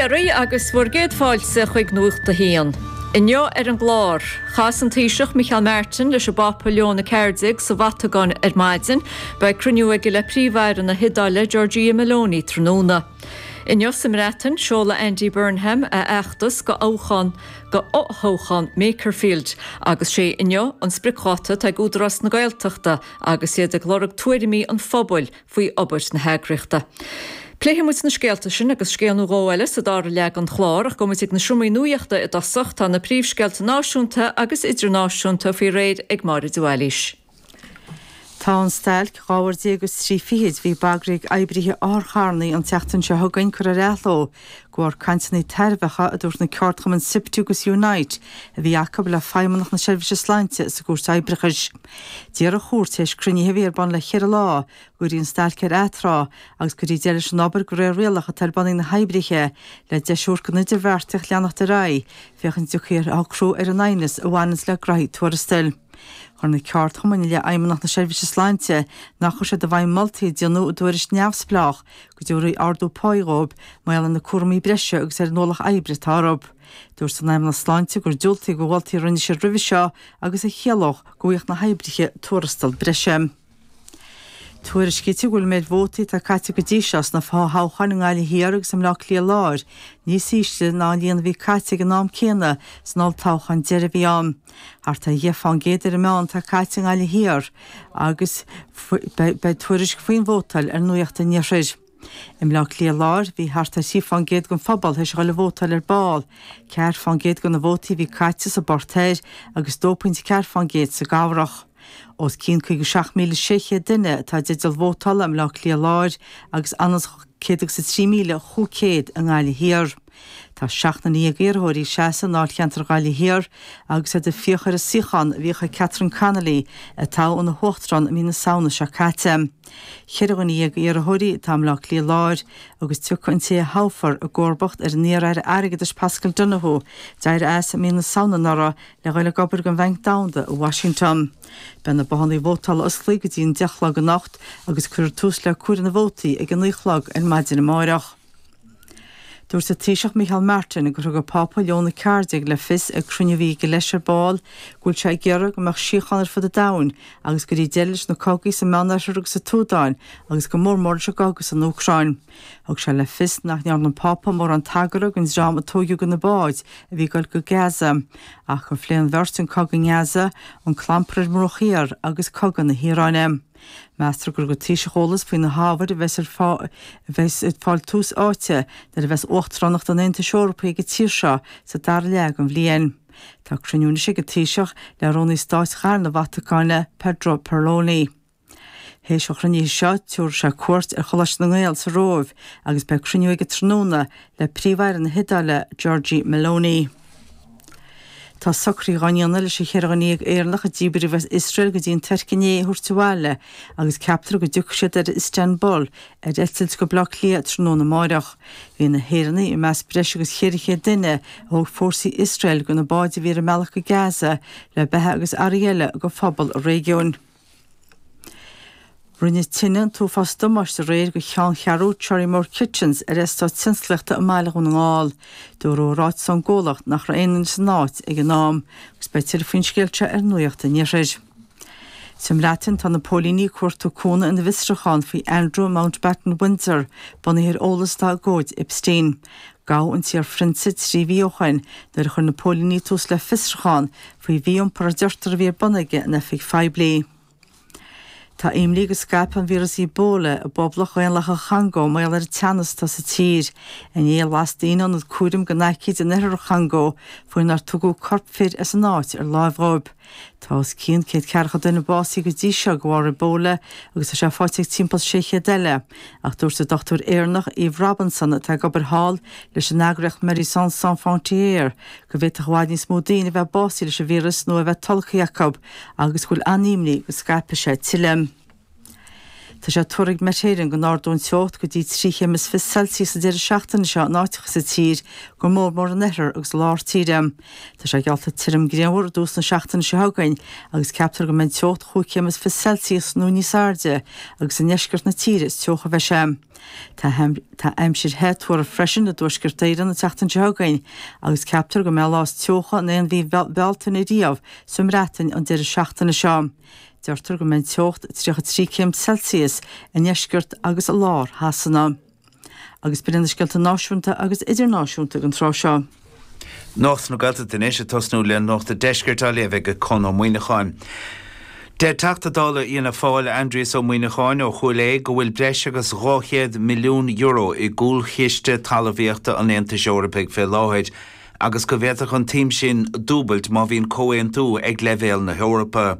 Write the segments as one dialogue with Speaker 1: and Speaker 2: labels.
Speaker 1: Dia oraibh agus bhur gcéad fáilte chuig Nuacht a hAon. Inniu ar an gclár, chas an Taoiseach Micheál Martin leis an bPápa Leon 14 sa Vatacáin ar maidin. Beidh cruinniú aige le Príomh-Aire na hIodáile Giorgia Meloni tráthnóna. Inniu sa mBreatain, seolfaidh Andy Burnham a fheachtas go thoghchán go fhothoghchán Makerfield agus sé inniu an spriocdháta atá ag Údarás na Gaeltachta agus iad ag lorg tuairimí an phobail faoi obair na heagraíochta. Pléifidh muid na scéalta sin agus scéal nó dhó eile sa dara leath den chlár ach gabhfaidh muid ag na seomraí nuachta i dtosach. Tá na príomhscéalta náisiúnta agus idirnáisiúnta faoi réir ag Máire de Bhailís.
Speaker 2: Tá an stailc 12 uair agus trí fichid a bhí bagraithe ag oibrithe otharcharranna an tseachtain seo chugainn curtha ar athló de bharr cainteanna tairbheacha a dúirt na ceardchumainn Siptu agus Unite a bhí acu le Feidhmeannacht na Seirbhíse Sláinte sa gCúirt Oibreachais. D'iarr an chúirt, théis cruinnithe a bhí ar bun le cheithre lá, go gcuirfí an stailc ar atráth agus go gcuirfí deireadh leis an obair de réir rialach atá ar bun ag na hoibrithe, le deis a thabhairt don idirbheartaíocht leanacht ar aghaidh, féachaint an dtiocfaí ar shocrú ar an aighneas a bhaineanns le graithí tuarastail. Chuir na ceardchumainn i leith Fheidhmeannacht na Seirbhíse Sláinte nach chuir siad i bhfeidhm moltaí a déanadh i dtuairisc neamhspleách go dtabharfaí ardú páí dhóibh mar gheall ar na cúraimí breise agus ar an ualach oibre atá orthu. Dúirt an Fheidhmeannacht Sláinte gur diúltaíodh do mholtaí a rinne siad roimhe seo agus a chiallódh go bhfaigheadh na hoibrithe tuarastal breise. Tuairiscítear go bhfuil an méid vótaí atá caite go dtí seo sna fothoghcháin i nGaillimh Thiar agus i mBleá Cliath Láir níos ísle ná an líon a bhí caite ag an am céanna san olltoghchán deiridh a bhí ann. Thart ar dheich fán gcéad ar an meán atá caite i nGaillimh Thiar agus beidh tuairisc faoin vótáil ar Nuacht an Iarthair. I mBleá Cliath Láir, bhí thart ar 3 fán gcéad den phobal théis a dhul ag vótáil ar ball, 4 fán gcéad de na vótaí a bhí caite sa bPort Thoir agus 2.4 fán gcéad sa gCabhrach. Os cionn 57,600 duine atá i dteideal vótála i mBleá Cliath Láir agus anuas 103,500 i nGaillimh Thiar. Tá 17 iarrthóirí ag seasamh i ndáilcheantar Ghaillimh Thiar agus iad ag fiach ar an suíochán a bhíodh ag Catherine Connolly, a toghadh ina huachtarán i mí na Samhna seo caite. Cheithre dhuine dhéag iarrthóirí atá i mBleá Cliath Láir agus tiocfaidh an té a thoghfar i gcomharbacht ar an iar-aire airgeadais Paschal Donohoe, d'éirigh as i mí na Samhna anuraidh le dhul ag obair don Bhanc Domhanda i Washington. Beidh na bothanna vótála osclaithe go dtí an 10 a chlog anocht agus cuirfear tús le comhaireamh na vótaí ag a 9 a chlog ar maidin amáireach. Dúirt an Taoiseach Micheál Martin gur thug an Pápa Leon 14 le fios ag cruinniú a bhí aige leis ar ball go bhfuil sé ag iarraidh go mbeadh síocháin ar fud an domhain agus go gcuirfí deireadh leis na cogaí sa Meánoirthear agus sa tSúdáin agus go mór mór leis an gcogadh san Úcráin. Thug sé le fios nach ndearna an Pápa mórán tagartha don dream a tóigeadh de na báid a bhí ag dul go Gaza ach gur phléigh an bheirt an cogadh i nGaza, an clampar ar an mBruach Thiar agus cogadh na hIaráine. Meastar gur thug an Taoiseach eolas faoi na hábhair a bheas a bheas ag fáil tús áite nuair a bheas Uachtaránacht an Aontais Eorpaigh ag an tír seo sa dara leath den bhliain. Tá cruinniú anois ag an Taoiseach le Rúnaí Stáit Ghairthe na Vatacáine, Pedro Parolin. Théis an chruinnithe seo, tabharfaidh sé cuairt ar Choláiste na nGael sa Róimh agus beidh cruinniú aige tráthnóna le Príomh-Aire na hIodáile, Giorgia Meloni. Tá socruithe á ndéanamh leis an cheithre dhuine dhéag Éireannach a díbríodh as Iosrael go dtí an Tuirc inné a thabhairt abhaile agus ceaptar go dtiocfaidh siad ar Istanbul ar eitilt go Baile Átha Cliath tráthnóna amáireach. Bhí na hÉireannaigh i measc breis agus 400 duine a thóg fórsaí Iosrael de na báid a bhí ar a mbealach go Gaza le beatha agus earraí eile do phobal an réigiúin. Rinne tine an t-uafás damáiste aréir do cheanncheathrú Cherrymore Kitchens ar eastát tionsclaíochta i mBaile Dhún na nGall. Dúradh i ráiteas ón gcomhlacht nach raibh aon duine san áit ag an am agus beidh tuilleadh faoin scéal seo ar Nuacht an Iarthair. Sa mBreatain tá na póilíní ag cuartú cúnamh ina bhfiosrúchán faoi Andrew Mountbatten Windsor bunaithe ar eolas atá i gcomhaid Epstein. Gabhadh an t-iar-phrionsa 3 mhí ó shoin nuair a chuir na póilíní tús le fiosrúchán faoi mhí-iompar a deirtear a bhí ar bun aige in oifig phoiblí. Tá imní go scaipfidh an víreas Ebola i bPoblacht Dhaonlathach an Chongó mar gheall ar an teannas atá sa tír. Inné las daoine ionad cúraim don aicíd in oirthear an Chongó faoinar tugadh corp fir as an áit ar láimh dhóibh. Tá os cionn 140 duine básaithe go dtí seo de bharr Ebola agus tá sé faighte ag timpeall 600 eile. Ach dúirt an dochtúir Éireannach Eve Robinson atá ag obair thall leis an eagraíocht Médecins Sans Frontières go bhféadfadh i bhfad níos mó daoine a bheith básaithe leis an víreas nó a bheith tolgtha acu agus go bhfuil an-imní go scaipfidh sé tuilleadh. Tá sé tuartha ag Met Éireann go n-ardóidh an teocht go dtí 3 chéim is 20 Celsius an deireadh seachtaine seo in áiteacha sa tír, go mór mór in oirthear agus i lár tíre. Tá sé geallta tirim grianmhar i dtús na seachtaine seo chugainn agus ceaptar go mbeidh an teocht chúig chéim is 20 Celsius nó níos airde agus i ndeisceart na tíre is teocha a bheidh sé. Tá aimsir the tuartha freisin i dTuaisceart Éireann an tseachtain seo chugainn agus ceaptar go mbeidh an lá is teocha in aon mhí Bhealtaine riamh sa mBreatain an deireadh seachtaine seo. Deirtear go mbeidh an teocht 33 céim Celsius i ndeisceart agus i lár Shasana. Agus b'in iad na scéalta náisiúnta agus idirnáisiúnta ag an tráth seo.
Speaker 3: Nuacht na Gaeltachta anois, ag tosnú le Nuacht an Deiscirt á léamh ag Conn Ó Muíneacháin. Deir Teachta Dála Fhianna Fáil Aindrias Ó Muíneacháin ó Chúil Aodha go bhfuil breis agus €200 milliún i gcúlchiste talmhaíochta an Aontais Eorpaigh fé láthair agus go bhféadfadh an tsuim sin dúbailt má bhíonn comhaontú ag leibhéal na hEorpa.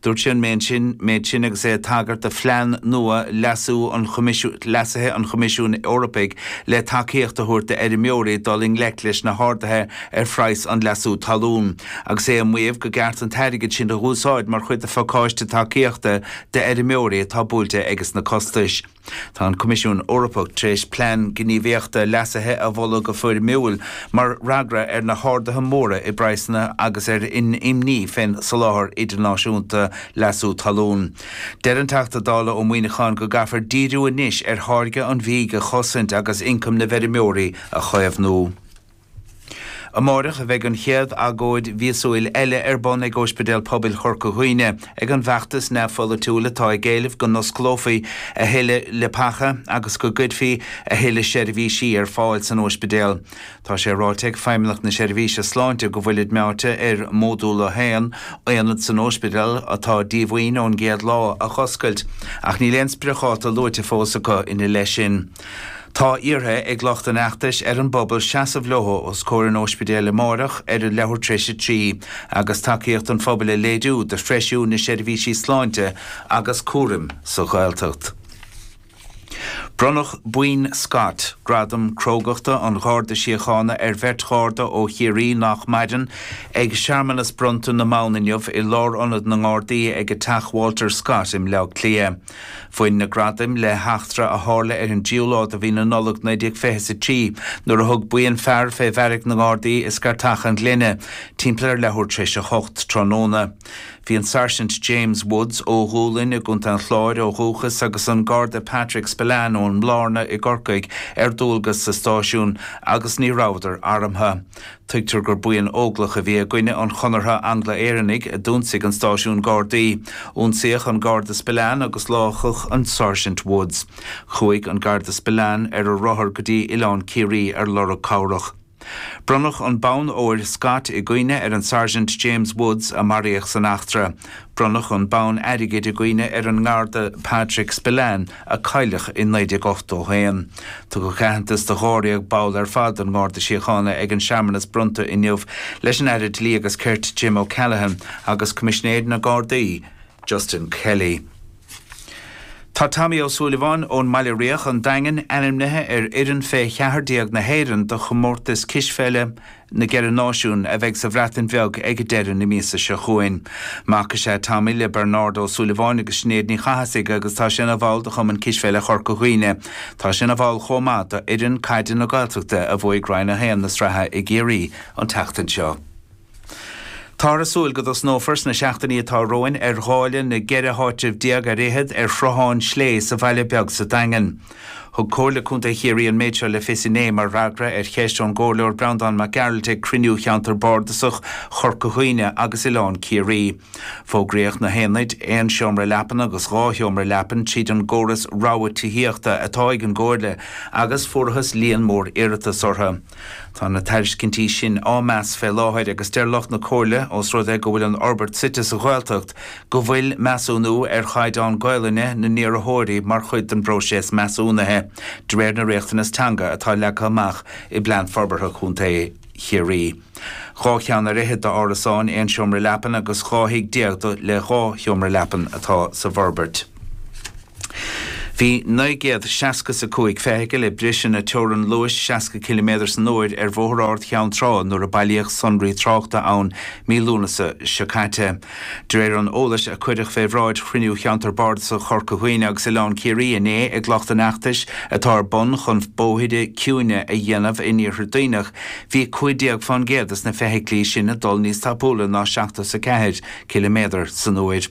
Speaker 3: Dúirt sé an méid sin agus é ag tagairt do phlean nua leasú an leasaithe an Choimisiúin Eorpaigh le tacaíocht a thabhairt d'fheirmeoirí dul i ngleic leis na harduithe ar phraghas an leasú talún, agus é ag maíomh go gceart an t-airgead sin a dh'úsáid mar chuid de phacáiste tacaíochta d'fheirmeoirí atá buailte ages na costais. Tá an Coimisiún Eorpach tar éis plean gníomhaíochta leasaithe a mholadh go foirmiúil mar fhreagra ar na harduithe móra i bpraghsanna agus ar an imní fén soláthar idirnáisiúnta leasú talún. Deir an Teachta Dála Ó Muíneacháin go gcaithfear díriú anois ar tháirgeadh an bhídh a chosaint agus ioncam na bhfeirmeoirí a chaomhnú. Amáireach a bheidh an chéad agóid mhíosúil eile ar bun ag Óispidéal Pobail Chorca Dhuibhne ag an bhfeachtas neamhpholaitiúil atá ag éileamh go n-osclófaí a thuilleadh leapacha agus go gcuirfí a thuilleadh seirbhísí ar fáil san óispidéal. Tá sé ráite ag Feidhmeannacht na Seirbhíse Sláinte go bhfuilid meáite ar Módúl 1, aonad san óispidéal atá díomhaoin ón gcéad lá, a dh'oscailt ach níl aon spriocdháta luaite fós acu ina leith sin. Tá iarrtha ag lucht an fheachtais ar an bpobal seasamh leo os comhair an óispidéil amáireach ar a leathuair tar éis 3 agus tacaíocht an phobail a léiriú do threisiú na seirbhísí sláinte agus cúraim sa Ghaeltacht. Bronnadh Boinn Scott, gradam crógachta an Gharda Síochána ar bheirt Gharda ó Chiarraí nach maireann, ag searmanas bronnta na mbonn inniu i Lárionad na nGardaí ag Teach Walter Scott i mBleá Cliath. Bhain na gradaim le heachtra a tharla ar an dtríú lá de mhí na Nollag 1923 nuair a thug buíon fear fé bheairic na nGardaí i Scartach an Ghlinne timpeall ar leathuair tar éis a hocht tráthnóna. Bhí an Sáirsint James Woods ó Dhúlainn i gContae an Chláir ó dhúchas agus an Garda Patrick Spillane ón mBlárna i gCorcaigh ar dualgas sa stáisiún agus ní rabhadar armtha. Tuigtear gur buíon óglach a bhí i gcoinne an Chonartha Angla-Éireannaigh a d'ionsaigh an stáisiún Gardaí. Ionsaíodh an Garda Spillane agus láchadh an Sáirsint Woods. Chuaigh an Garda Spillane ar a rothar go dtí Oileán Ciarraí ar lorg cabhrach. Bronnadh an bonn óir Scott i gcuimhne ar an Sáirsint James Woods a maraíodh san eachtra. Bronnadh an bonn airgid i gcuimhne ar an nGarda Patrick Spillane a cailleadh i 1981. Tugadh aitheantas do dháréag ball ar fad den nGarda Síochána ag an searmanas bronnta inniu leis an Aire Dlí agus Cirt Jim O'Callaghan agus Coimisinéir na Gardaí Justin Kelly. Tá Tommy Ó Súilleabháin ón mBaile Riach, an Daingean, ainmnithe ar fhoireann fé 14 na hÉireann do chomórtas cispheile na gCeithre Náisiún a bheidh sa Bhreatain Bheag ag deireadh na míosa seo chugainn. Mac is ea Tommy le Bernard Ó Súilleabháin agus Sinéad Ní Chathasaigh agus tá sé ina bhall de Chumann Cispheile Chorca Dhuibhne. Tá sé ina bhall chomh maith d'fhoireann caide na Gaeltachta a bhuaigh Roinn 1 na sraithe i gCiarraí an tseachtain seo. Táthar ag súil go dtosnófar sna seachtainí atá romhainn ar dháileadh na gceithre háitreabh déag ar fhichead ar Shruthán Slé sa Bhaile Beag sa Daingean. Thug Comhairle Contae Chiarraí an méid seo le fios inné mar fhreagra ar cheist ón gComhairleoir Breandán Mac Gearailt ag cruinniú Cheantar Bardasach Chorca Dhuibhne agus Oileán Ciarraí. Fógraíodh na haonaid, aon seomra leapan agus 2 sheomra leapan, tríd an gcóras rogha tithíochta atá ag an gComhairle agus fuarthas líon mór iarratas orthu. Tá na tairiscintí sin á meas fé láthair agus deir lucht na Comhairle, ós rud é go bhfuil an fhorbairt suite sa Ghaeltacht, go bhfuil measúnú ar chaighdeán Gaolainne na n-iarrthóirí mar chuid den bpróiseas measúnaithe, de réir na riachtanas teanga atá leagtha amach i bPlean Forbartha Chontae Chiarraí. 2 cheann ar fhichead d'árasáin aon seomra leapan agus 12 thigh le 2 sheomra leapan atá sa bhforbairt. Bhí 965 feithicil ag briseadh na teorann luais 60 ciliméadar san uair ar Bhóthar Ard Cheann Trá nuair a bailíodh sonraí tráchta ann mí Lúnasa seo caite. De réir an eolais a cuireadh fé bhráid chruinniú Cheantar Bardasach Chorca Dhuibhne agus Oileán Ciarraí inné ag lucht an fheachtais atá ar bun chun bóithre ciúine a dhéanamh in Iarthar Duibhneach, bhí 15 fán gcéad des na feithiclí sin ag dul níos tapúla ná 74 ciliméadar san uair.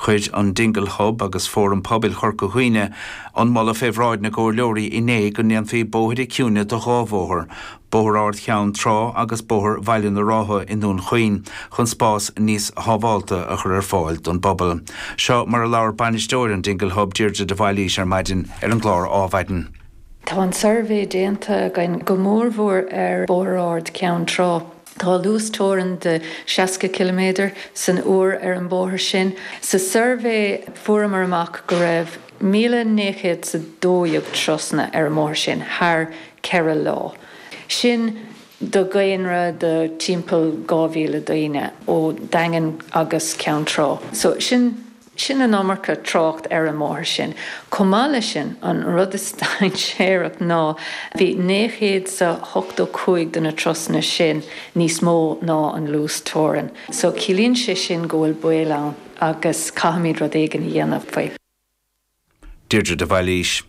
Speaker 3: Chuir an Dingle Hub agus Fóram Pobail Chorca Dhuibhne an moladh fé bhráid na gcomhairleoirí inné go ndéanfaí bóithre ciúine de dhá bhóthar, Bóthar Ard Cheann Trá agus Bóthar Bhaile na Rátha i nDún Chaoin, chun spás níos shábhálta a chur ar fáil don bpobal. Seo mar a labhair bainisteoir an Dingle Hub, Deirdre de Bhailís ar maidin ar an gclár Ádhmhaidin.
Speaker 4: Tá an suirbhé déanta againn go mórmhór ar Bhóthar Ard Cheann Trá. Tá luas teorann de 60 ciliméadar san uair ar an bóthar sin. Sa suirbhé fuaireamar amach go raibh 1,912 turasanna ar an mbóthar sin thar 4 lá. Sin do dhaonra de timpeall 2,000 daoine ó Daingean agus Ceann Trá. So sin. Sin an iomarca trácht ar an mbóthar sin. Chomh maith leis sin, an rud is dainséarach ná bhí 985 de na turasanna sin níos mó ná an luas teorann. So ciallaíonn sé sin go bhfuil baol ann agus caithfimid rud éigin a dhéanamh faoi.
Speaker 3: Deirdre de Bhailís.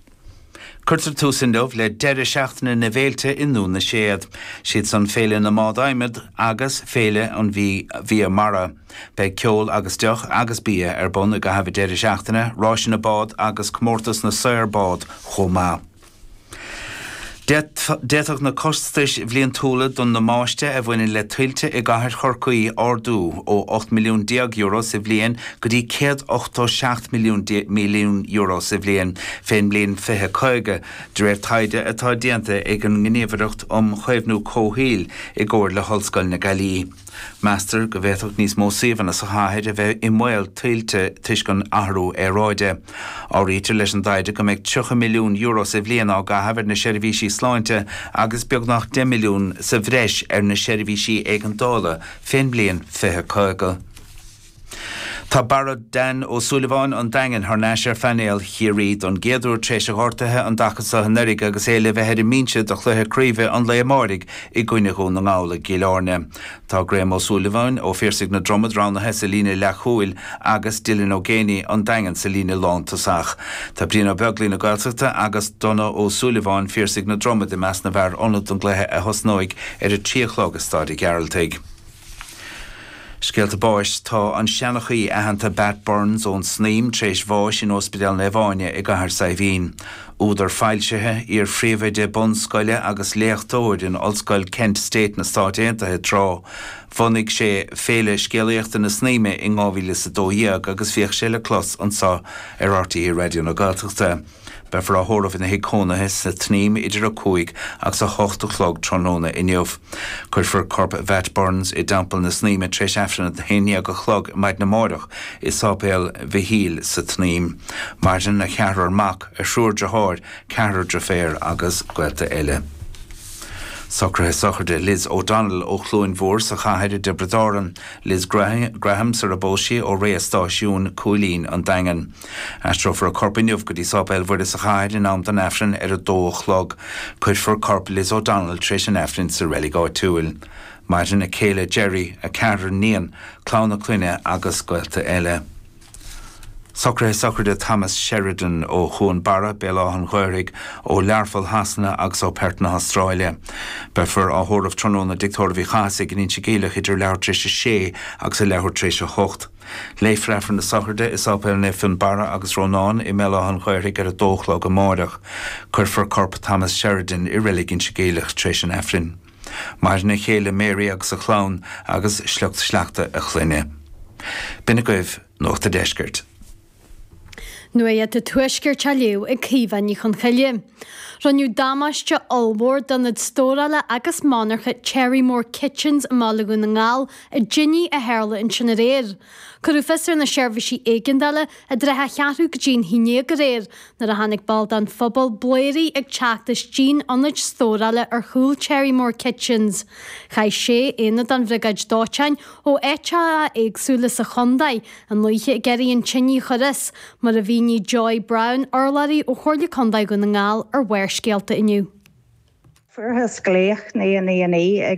Speaker 3: Cuirtear tús inniu le deireadh seachtaine na bhféilte i nDún na Séad. Siad san Féile na mBád Adhmaid agus Féile an Bhia Mara. Beidh ceol agus deoch agus bia ar bun i gcaitheamh an deireadh seachtaine, ráiseanna bád agus comórtas na saor bád chomh maith. D'fhéadfadh na costais bhliantúla don damáiste a bhaineann le tuilte i gcathair Chorcaí ardú ó €18 milliún sa bhliain go dtí €187 milliún sa bhliain fén mbliain 2050, de réir taighde atá déanta ag an nGníomhaireacht um Chaomhnú Comhshaoil i gcomhar le hOllscoil na Gaillimhe. Meastar go bhféadfadh níos mó suíomhanna sa chathair a bheith i mbaol tuilte toisc an athrú aeráide. Áirítear leis an dtaighde go mbeidh €30 milliún sa bhliain á gcaitheamh ar na seirbhísí sláinte agus beagnach €10 milliún sa bhreis ar na seirbhísí éigeandála fén mbliain 2050. Tá Barra Dan Ó Súilleabháin an Daingin thar n-ais ar phainéal Chiarraí don gcéad uair tar éis a ghortaithe an dtaca seo anuraidh agus é le bheith ar an mbinse do chluiche craoibhe an lae amáirigh i gcoinne Dhún na nGall i gCill Airne. Tá Graham Ó Súilleabháin ó Phiarsaigh na Dromad roghnaithe sa líne leathchúil agus Dylan Ó Géibheannaigh an Daingean sa líne lántosach. Tá Brian Ó Beaglaoich na Gaeltachta agus Donagh Ó Súilleabháin, Phiarsaigh na Dromad i measc na bhfear ionad don gcluiche a thosnóidh ar a 3 a chlog i Staid an Ghearaltaigh. Scéalta báis Tá an seanchaí aitheanta Bat Burns ón Snaidhm tar éis bháis in Ospidéal Naomh Áine i gCathair Saidhbhín. Údar foilsithe, iar-phríomhoide bunscoile agus léachtóir in Ollscoil Kent State na Stáit Aontaithe tráth. Bhunaigh sé Féile Scéalaíochta na Snaidhme in 2012 agus bhíodh sé le clos anseo ar RTÉ Raidió na Gaeltachta. Beifear á thórramh ina thigh cónaithe sa tSnaidhm idir 5 agus 8 a chlog tráthnóna inniu. Cuirfear corp Bhat Burns i dTeampall na Snaidhme tar éis Aifreann a 11 a chlog maidin amáireach i Sáipéal Mhichíl sa tSnaidhm. Maireann a cheathrar mac, a thriúr driotháir, ceathrar driféar agus gaolta eile. Socruithe sochraide Liz O'Donnell ó Chluain Mhór sa chathair i dTiobraid Árann, Liz Graham sar a bpós sí ó Réidh a' Stáisiúin, Cúilín, An Daingean. Aistreofar a corp inniu go dtí Sáipéal Mhuire sa chathair in am don Aifreann ar a dó a chlog. Cuirfear corp Liz O'Donnell tar éis an Aifrinn sa reilig áitiúil. Maireann a céile Gerry, a ceathrar níon, clann a clainne agus gaolta eile. Socruithe sochraide Thomas Sheridan ó Chuan Barra, Béal Átha an Ghaorthaidh, ó Learpholl Shasana agus ó Perth na hAstráile. Beifear á thórramh tráthnóna i dTigh Tórraimh Uí Chathasaigh in Inse Geimhleach idir leathuair tar éis a sé agus a leathuair tar éis a hocht. Léifear Aifreann na Sochraide i Sáipéal Naomh Fionnbarra agus Rónán i mBéal Átha an Ghaorthaidh ar a dó a chlog amáireach. Cuirfear corp Thomas Sheridan i reilig Inse Geimhleach tar éis an Aifrinn. Maireann a chéile Mary agus a chlann agus sliocht sleachta a chlainne. B'in agaibh Nuacht a' Deiscirt.
Speaker 5: Nuacht an Tuaiscirt á léamh ag Caoimhe Ní Chonchoille. Rinneadh damáiste ollmhór d'ionad stórála agus monarcha Cherrymore Kitchens i mBaile Dhún na nGall i dtine a tharla ansin aréir. Cuireadh fios ar na seirbhísí éigeandála i dtrátha a cheathrú go dtí an haon déag aréir nuair a chonaic ball den phobal blairí ag teacht as díon ionaid stórála ar chúl Cherrymore Kitchens. Chaith sé aonad den bhriogáid dóiteáin ó áiteacha éagsúla sa chontae an oíche ag iarraidh an tine a chur as, mar a mhínigh. Mhínigh Joy Browne, urlabhraí ó Chomhairle Contae Dhún na nGall, ar Bharrscéalta inniu.
Speaker 6: Fuarthas glaoch 999 ag.